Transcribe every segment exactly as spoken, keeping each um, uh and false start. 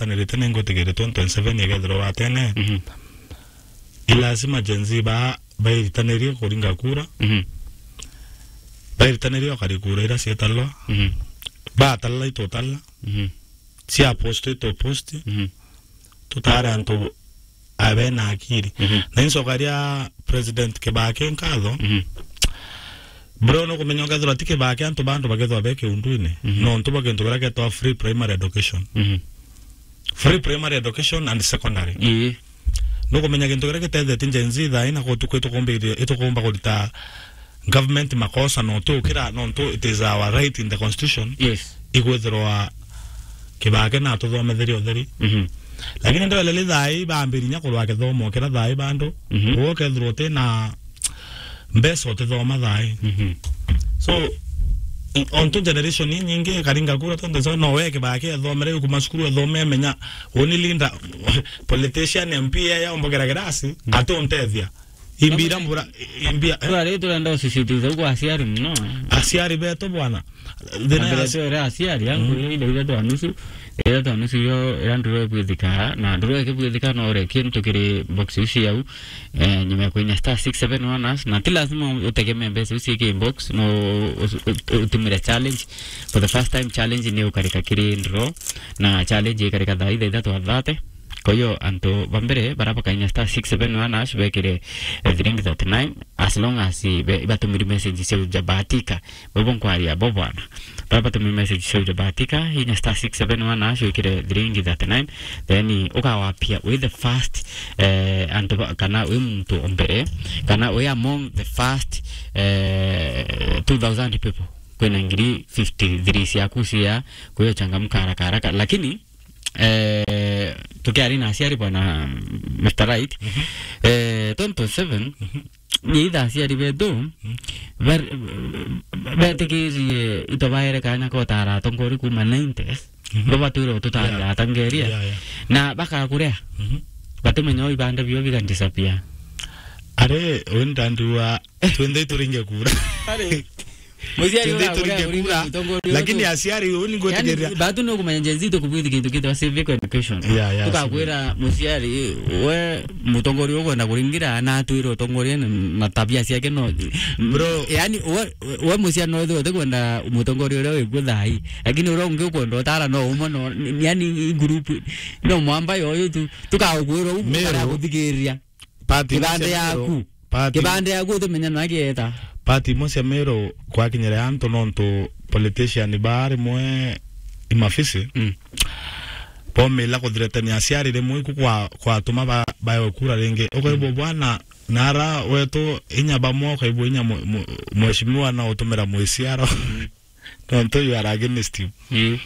tanirite ni ngwitigiri twenty twenty-seven igethirwa watene. Mhm. I lazima Gen Z ba, bairitanirie kuringa kura. Mhm. Bairitanirie ukari kura ira cietalwa. Mhm. Batalala itutala. Mhm. Cia post itupost. Mhm. Tutare antu abena akiri. Mhm. Na incokaria President Kibaki nkatho. Mhm. Bro, nukumenya ukethirwa ti Kibaki antu bandu bakethirwa be kiundwini. Mhm. Nontu bwa kintu kiria getwa free primary education. Mhm. Free primary education and secondary. Ii. Nukumenya kintu kiria gitethetie Gen Z thaa ii na gutuku itukumbiria, itukumba kurita government makosa no tukira, nontu it is our right in the constitution. Yes. Igwithirwa Kibaki na tuthometherie utheri. Mhm. Lakini ndwelele thaa ii bambirinya kurwa kithomo kira thaa ii bandu. Mhm. Uguo ukethirwa uti na mbeca utithoma thaa ii. Mhm. So, i-, ontu generation inyingi ikaringa kura tontu so no we Kibaki ethomere kuma cukuru ethome amenya uni leader, politician, M P ya, ya ombogera girasi, mm, atuntethia. Imbira mbura, imbia, eh? Twari turenda usisitiza ugu aciari muno. Aciari betu bwana. Thina ya aciari, aciari, angu, mm, ile, ile twa nusu, ile twa nusu yo, ira nduro ibwithika, na nduro ikibwithika no ure kintu kiri box ici yau, eh, nyuma ya kuinya star six seven one hash, na ti lazima utegemee mbeca ici iki inbox, no us-, ut-, utumire challenge. For the first time, challenge ni ukarika kiri nduro, na challenge ikarika thaa ithathatu athate. Kwa hiyo, antu ba mbere, bara bakainya star six seven one hash, bekire, eh, thiringi thirty-nine, as long as, eh, be-, ibatumiri message cia uja bahatika. Bobo nkwaria bo bwana. Bara batumiri message cia uja bahatika, inya star six seven one hash, wikire thiringi thirty-nine, then ukawapia wi the first, eh, antu ba, kana wi muntu o mbere, kana wi among the first, eh, two thousand people. Kwina ngiri fifty-three ciaku cia, kwa hiyo changamka haraka haraka. Lakini, eh, tukiari na aciari bwana Mister Right, mhm, eh, twenty twenty-seven, mhm, ni itha aciari betu, mhm, bar-, betikirie ito baere kanya kotara atongori kuma nineties, mhm, bo batwire ututari, yeah, atangeria. Yeah, yeah. Na bakakurea. Mhm. Batimenya ibande bio biga disappear. Are, uyu ndandiwa, twenthe turinge kura. Are. Muciari tuthii uria turinge uria kura, mutongoria lakini utu-, aciari uu ni ngwitikiria. Yani, batu ni ukumenya Gen Z tukubwithi kintu kitwa civic education. Yeah, yeah, tukakwira civic. Muciari, we mutongoria ukwenda kuringira, na atwire utongoria na, na tabia ciake no. Bro. Yani, we, we muciari no withirwe utikwenda mutongoria uria wikuo thaa ii. Lakini uria ungi ukwenda utara no umwe no, yani, group, no mwamba yoyo tu, tukagukwira uu, Meru. Tukara kuthikiriria. Party kibande cia Meru, yaku. Party, kibande yaku utimenya na gieta. Party imwe cia Meru kwakinyire antu nontu politician ba rimwe imafisi. Mm. Bomila kuthiretania aciari rimwe iku kwa, kwatuma ba, baewe kura ringi. Ukaigua, mm, bwana, nara wetu inya bamwe ukaigua inya mu-, mu-, mheshimiwa na utumira mwiciaro. Mm. Nontu you are against him. Ii.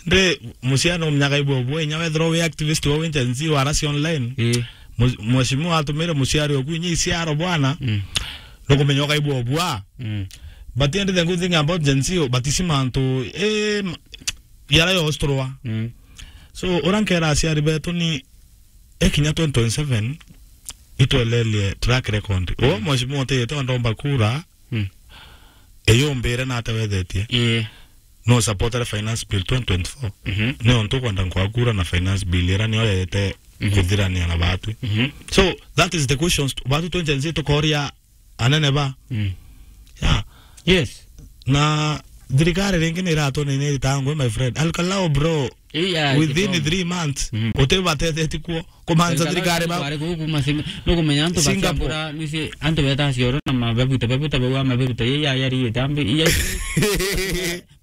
Ndi, muciari no mnyaka ibwe bwe, inya wethirwa wi activist wa wi Gen Z wa rasi online. Ii. Mu-, mheshimiwa atumire muciari oku inya iciaro bwana. Mm. Nukumenya ukaibwa bwa. Mm. But the only thing good thing about Gen Z, but isi mantu, eh, ma-, yara yosturwa. Mm. So, ura nkera aciari betu ni, ekinya twenty twenty-seven, itwelelie track record. O, mm, mheshimiwa utiyete ondomba kura, mm, eyumbire na atewethetie. Ii. No supportere finance bill twenty twenty-four. Mhm. Ni ontu kwenda nkwa kura na finance bill ira niyo yete, mhm, kuthirania na batwi. Mhm. So, that is the questions. Batwi twenty twenty-six tukoria anene ba. Mm. Yeah. Yes. Na thirikari ringi ni iratwona ni iritangwe, my friend. Alkalao, bro. Iya, within three months, mhm, utibateteti kuo. Kumanza thirikari ba-, bari kuu kuma Sing-, nukumenya antu ba Singapore. Singapore, nusi antu beta cioro na mabebuta, bebuta bau mabebuta, iya, iya, iya, tambi, iya.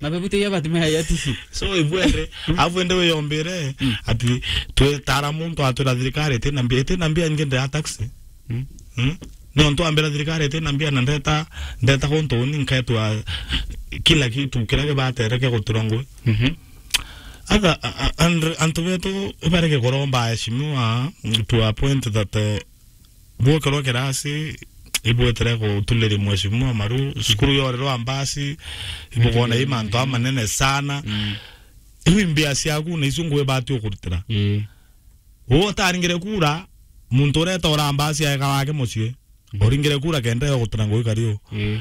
Mabebuta iya batumia ya tisi. So, ibwere, afu ende wiyombire, mm, ati twitara muntu atwira thirikari itina mbia, itina mbia nyingi ndea taxi. Mm. Mm? Ni ontu ambira thirikari itina mbia na ndeta, ndeta guntu uni nketwa kila kitu kiria gibatere kia gutura ngui. Mhm. Other, a-, a-, and antu betu ibarege kuromba aheshimiwa to a point that, eh, bwokirwa kirasi, ibwetire gutuliria mheshimiwa maru, cukuru yorerwa mbasi, ibugona i mantu amanene sana. Mm. Iu mbia ciaku na icio ngui bati ukurutira. Ii. Uu utaringire kura, muntu ureta uramba aciaeka wake mucii. Mhm. Uringire kura kenda yo gutira ngui kari u. Ii.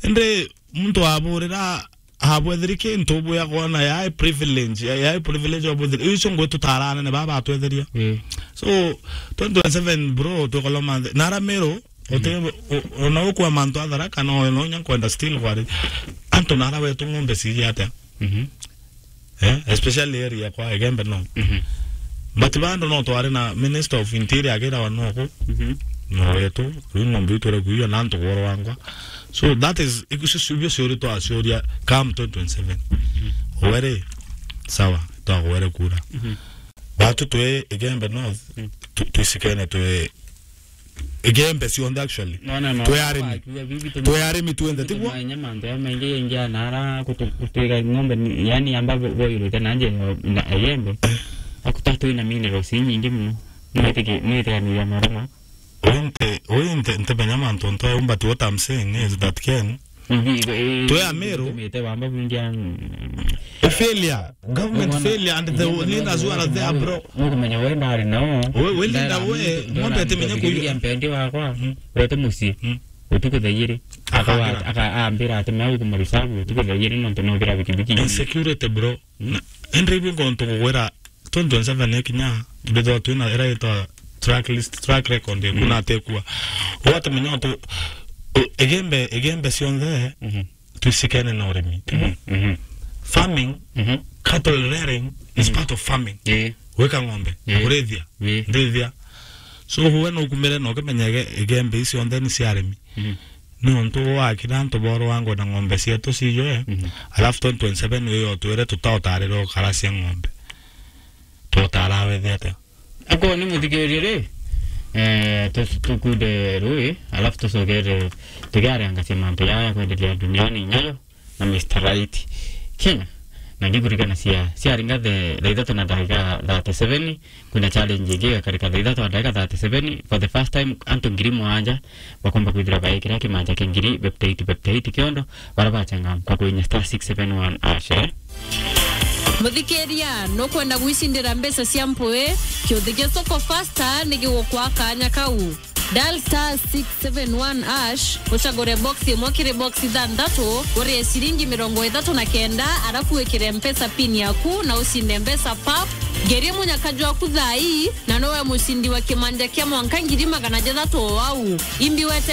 Indi muntu aburira abwetheri kintu bwegwa na yae privilege, ya, yae privilege obwetheri. Icio ngwe tutaranene baba atwetheria. Mm. So, twenty twenty-seven, bro, tukoloma nthi. Nara Meru, uti, u-, ona ukwa mantu athara kana ona unya nkwenda still kwari. Antu nara wetu ng'ombe ciri atia? Mhm. Eh, especially area kwa Igembe no. Mhm. But bando no twari na Minister of Interior agira wa noku. Mhm. No wetu, riu ng'ombe itwere kuiyo na antu goro wangwa. So that is, icio ciuria twaciuria come twenty twenty-seven. Mhm. Were, sawa, twagwere kura. Mhm. Watu twi Igembe North, mm, tu-, twisikene twi Igembe cionthe actually. No, no, no. Twi arimi. Twi arimi tuenthe, tiguo? Manya mantu ya maingi ingi anara kutu-, kutwiga ng'ombe ni, yani amba bo-, boirute na nje na Igembe. Akuta twi na minerals inyingi muno. Mwitiki-, mwitikaniria marama. Uyu nte-, uyu nte-, ntemenya mantu ntoe, but what I'm saying is that Ken, twi Ameru. Tumite wamba kwingia, mm, failure. Government failure and the leaders who are there, bro. Nukumenya we ndari nao. We, we leader we, ng'ombe atimenya kuiya. Mpendi wakwa, mm, urete mucii. Mm. Utuku thaa igiri. Akagira. Aka-, aka-, ambira ati me ukumarisabu utuku thaa igiri nontu no thira bikibiki. Insecurity, bro. Mm. Na, ende ibu ngontu kugwira twenty twenty-seven ikinya, mbithwa twina ira itwa track list, track record, mm, kuna atekua. Watemenya tu, u-, Igembe, Igembe cionthe, mhm, twisikene na urimi. Mhm, mhm. Farming, mhm, cattle rearing is, mhm, part of farming. Ii. Gwika ng'ombe, ii, kurithia, ii, ndithia. So, we no ukumire na ukimenya Ige-, Igembe icionthe ni cia arimi. Mhm. Niuntu wakira antu borwangwa na ng'ombe cietu cijwe, mhm, alafu twenty twenty-seven wiyo twire tutaotarire ukaracia ng'ombe. Twotara wethe atia? Ako ni muthikiririe ri, eh, tu-, tukunde rui, alafu tucokere tukiarangacia mantu jaa ya kwenderea duniani nyayo na Mister Right Kenya. Na ngikurikana cia, ciaringa the, thaa ithatu na ndagika thirty-seven, kwina challenge ingi igakarika thaa ithatu na ndagika thirty-seven. For the first time, antu ngiri mugwanja bakomba kwithira baikira kimanja kia ngiri beptaiti, beptaiti kiondo, bara bachangamka kwinya star six seven one hash, eh? Muthikiria, nukwenda gwicindira mbeca cia mpui? Kiuthi gia Soko Faster ni gigukwa kanya kau. Dial star six seven one hash, ucagure box imwe kiri box ithanthatu, urie ciringi mirongo ithatu na kenda, arafu wikire Mpesa pin yaku na ucinde mbeca pap. Ngerie munyaka jwaku thaa ii, na nowe mucindi wa kimanja kia mwanka ngiri magana jathatu o au. Imbi wete